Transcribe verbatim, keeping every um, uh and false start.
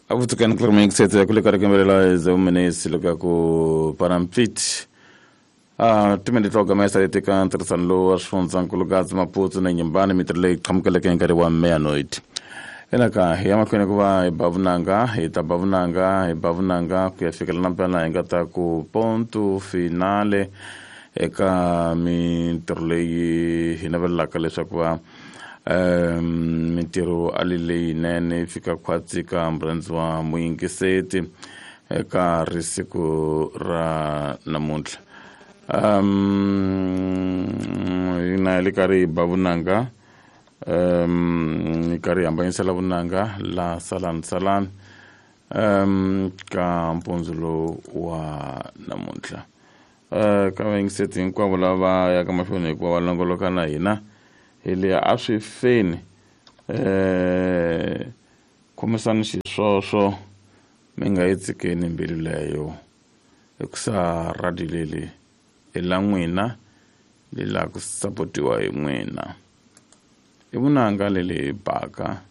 Akutsikani kulemekisetse kulekarekembelela zeumenesi lokaku parampiti a timende to gamesa leti ka ntirhisano lowu wa swifundzankulu Maputo na Nyumbani mintirho leyi qhamukeleke hi nkarhi wa meanoid enaka hi ya mahlweni ku va hi ba vunanga hi ta ba vunanga hi ba vunanga ku ya fikela na mpela hi nga ta ku ponto finale eka mintirho leyi hi navelelaka leswaku va um mintirho ali leyinene yi fika khwatsi ka murhandzi wa muyingiseti eka risiku ra namuntlha. um hina hi le karhi hi ba vunanga, um hi karhi hi hambanyisela vunanga la salani salani um ka mpundzu lowu wa namuntlha. Uh, ka vayingiseti hinkwavo lava yaka mahlweni hikuva va longoloka na hina hi le a swi feni, eh khomisani xiswoswo mi nga yi tshikeni mbilu leyo hikusa radio leli i la n'wina li la ku sapotiwa hi n'wina. I vunanga leli hi baka